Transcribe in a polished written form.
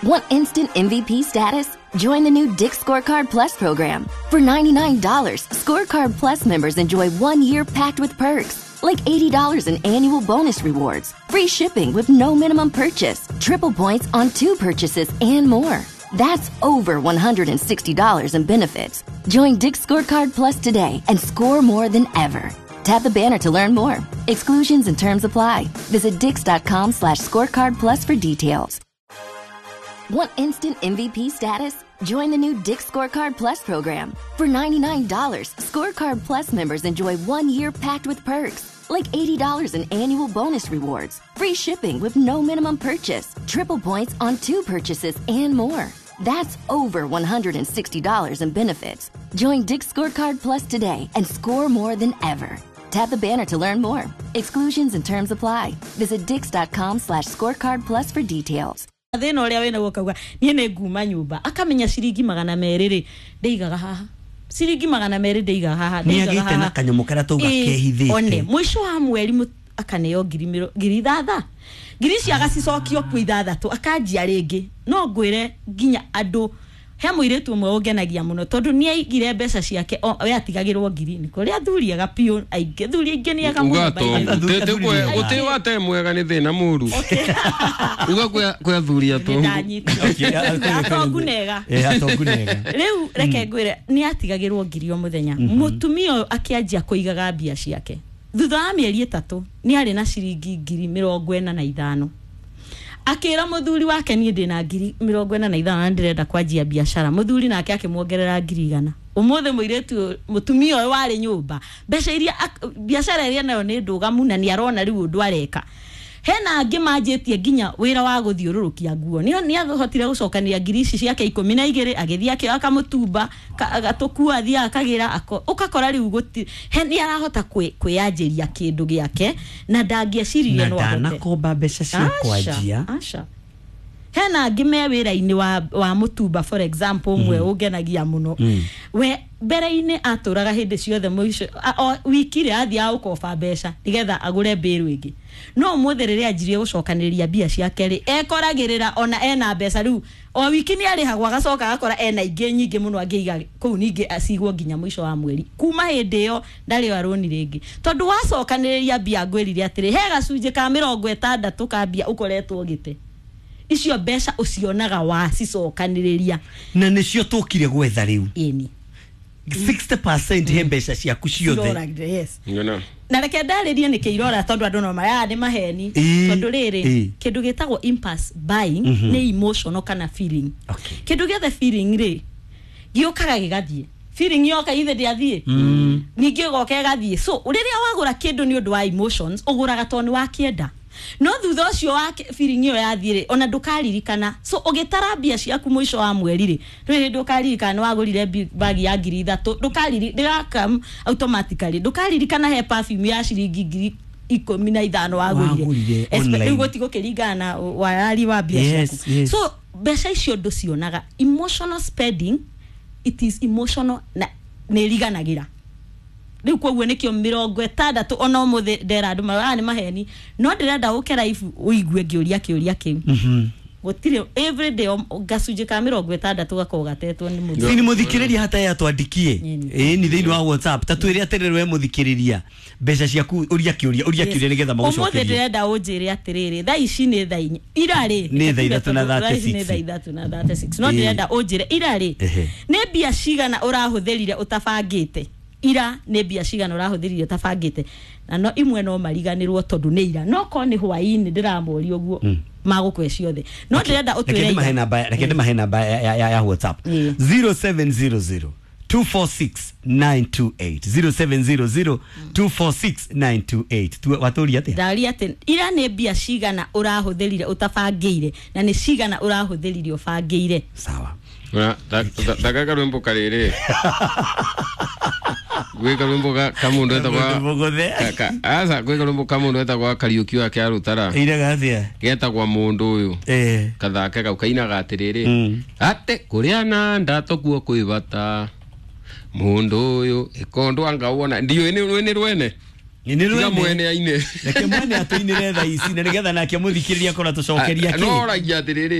Want instant MVP status? Join the new Dick's Scorecard Plus program. For $99, Scorecard Plus members enjoy 1 year packed with perks, like $80 in annual bonus rewards, free shipping with no minimum purchase, triple points on two purchases, and more. That's over $160 in benefits. Join Dick's Scorecard Plus today and score more than ever. Tap the banner to learn more. Exclusions and terms apply. Visit dicks.com/scorecard plus for details. Want instant MVP status? Join the new Dick's Scorecard Plus program. For $99, Scorecard Plus members enjoy 1 year packed with perks, like $80 in annual bonus rewards, free shipping with no minimum purchase, triple points on two purchases, and more. That's over $160 in benefits. Join Dick's Scorecard Plus today and score more than ever. Tap the banner to learn more. Exclusions and terms apply. Visit dicks.com/scorecard plus for details. Thina uria wina guo, kauga nie nĩ nguma nyũmba, akamenya ciringi 200 rĩ ndĩigaga haha, ciringi 200 ndĩigaga haha. Nĩ ndĩigaga agĩte na haha. kanyamũ karĩa tauga Ĩĩ, kehithĩte. one mũico wa mweri akaneo ngiri ithatha, ngiri icio agacicokio kuo ithathatũ, akanjia rĩngĩ. No ngwĩre nginya andũ, he mũirĩtu ũmwe ũngenagia mũno tondũ nĩ aigire mbeca ciake, we atigagĩrwo ngiri. Nĩ kũrĩ athuri ega biũ, aingĩ athuri aingĩ nĩ ega mũno, Uga by the way. tongu guti wate mwega nĩ thĩna mũru uga kwĩ athuri atongu. Nĩndanyita. Atongu nega. Eh, atongu nega. Rĩu reke ngwĩre, nĩ atigagĩrwo ngiri o mũthenya. Mũtumia ũyũ akĩanjia kũigaga mbia ciake, thutha wa mĩeri 3 nĩ arĩ na ciringi 45,000. Akĩra mũthuri wake, "Niĩ ndĩna 45,000 na ndĩrenda kwanjia biacara." Mũthuri nake akĩmuongerera 100,000. Ũmũthĩ mũirĩtu ũyũ- mũtumia ũyũ warĩ nyũmba, mbeca iria biacara ĩrĩa nayo nĩ ndũgamu na nĩ arona rĩu ũndũ areka. Hena angĩ manjĩtie nginya wĩra wa gũthiũrũrũkia nguo. Nĩ ahotire gũcokanĩria ngiri ici ciake 12, agĩthiĩ akĩoya kamũtumba agatũkua, athiaga akagĩra ũgakora rĩu gũti he nĩ arahota kwĩyanjĩria kĩndũ gĩake na ndangĩeciririe Na no ahote. ndanakomba mbeca cia Aca, kwanjia. aca. Hena angĩ me wĩra-inĩ wa mũtumba, for example, ũmwe ũngenagia mũno. We mbere-inĩ atũraga hĩndĩ ciothe mũico o wiki rĩ athiaga gũkoba mbeca nĩgetha agũre mbĩrũ ĩngĩ, no ũmũthĩ rĩrĩa anjirie gũcokanĩrĩria mbia ciake rĩ, ekoragĩrĩra ona ena mbeca rĩu o wiki nĩ arĩhagwo, agacoka agakora ena ingĩ nyingĩ mũno angĩiga kũu, ningĩ acigwo nginya mũico wa mweri. Kuma hĩndĩ ĩyo ndarĩ arũni rĩngĩ, tondũ wacokanĩrĩria mbia, ngwĩrire atĩrĩ, he gacunjĩ ka 60 ka mbia ũkoretwo ũgĩte. Icio mbeca ũcionaga wacicokanĩrĩria. Na nĩcio tũkire gwetha rĩu. Ĩni. 60% he mbeca ciaku ciothe. Ciroragire, yes. Ngona. Na reke ndarĩrie nĩkĩ irora, tondũ andũ no maya nĩ maheni. Tondũ rĩrĩ, kĩndũ gĩtagwo impulse buying nĩ emotional kana feeling. Kĩndũ gĩothe feeling rĩ, gĩũkaga gĩgathiĩ. Feeling yoka, ithe ndĩathiĩ, ningĩ ĩgoka ĩgathiĩ. So rĩrĩa wagũra kĩndũ nĩ ũndũ wa emotions, ũgũraga tondũ nĩ wakĩenda, no thutha ũcio wa feeling ĩyo yathiĩ rĩ, ona ndũkaririkana. So ũgĩtara mbia ciaku mũico wa mweri rĩ, ndũrĩ hĩndĩ ũkaririkana nĩ wagũrire bagi ya 3000. Ndũkariri ndĩgakam automatically, ndũkaririkana he perfume ya ciringi 15,000 Wagũrire wagũrire. online. Rĩu gũtigũkĩringana na wayari wa mbia ciaku. So mbeca icio ndũcionaga. Emotional spending, it is emotional na nĩ ĩriganagĩra. Rĩu koguo nĩkĩo 60 ona ũmũthĩ ndera andũ marauga, "Ah, nĩ maheni," no ndĩrenda ũke live ũigue ngĩũria kĩũria kĩu. Gũtirĩ every day gacunjĩ ka 60 gakoragwo gatetwo nĩ mũthuri. Sini mũthikĩrĩria hata yatwandikie. Ĩni thĩinĩ wa WhatsApp, ta twĩre atĩrĩrĩ, we mũthikĩrĩria, mbeca ciaku, ũria kĩũria, ũria kĩũria nĩgetha Ũmũthĩ magũcokerie. ndĩrenda ũnjĩre atĩrĩrĩ, thaa ici nĩ thaa 4, ira rĩ? Nĩ thaa ithatũ na Thaa ici nĩ 36. thaa 3:36, no ndĩrenda ũnjĩre ira rĩ, nĩ mbia cigana ũrahũthĩrire ũtabangĩte? Ira nĩ mbia cigana ũrahũthĩrire ũtabangĩte? Na no imwe no mariganĩrwo tondũ nĩ ira, no korwo nĩ hwaĩ-inĩ ndĩramoria ũguo, magũkwe ciothe. No ndĩrenda Reke ũtwĩre ndĩmahe ira. namba, reke ndĩmahe namba ya WhatsApp. 0700 246 928, 0700 246 928. Watũria atĩa? Ndaria atĩ ira nĩ mbia cigana ũrahũthĩrire ũtabangĩire, na nĩ cigana ũrahũthĩrire ũbangĩire. Sawa. Thaka karwimbo karĩrĩ, gwĩ karwimbo ka mũndũ etagwa Mũgũthe. Aca, gwĩ karwimbo ka mũndũ etagwa Kariũki wake Arũtara. Iraga atĩa? Getagwa mũndũ ũyũ. Kathake kau kainaga atĩrĩrĩ, atĩ kũrĩa na ndatũ kuo kwĩ bata, mũndũ ũyũ ĩkondo anga wona ndiũĩ nĩ rwene. Nĩ Tiga rwene. Mwene aine. Reke mwene atũinĩre thaa ici na nĩgetha nake mũthikĩrĩria akorwo atũcokeria No kĩ. oragia atĩrĩrĩ.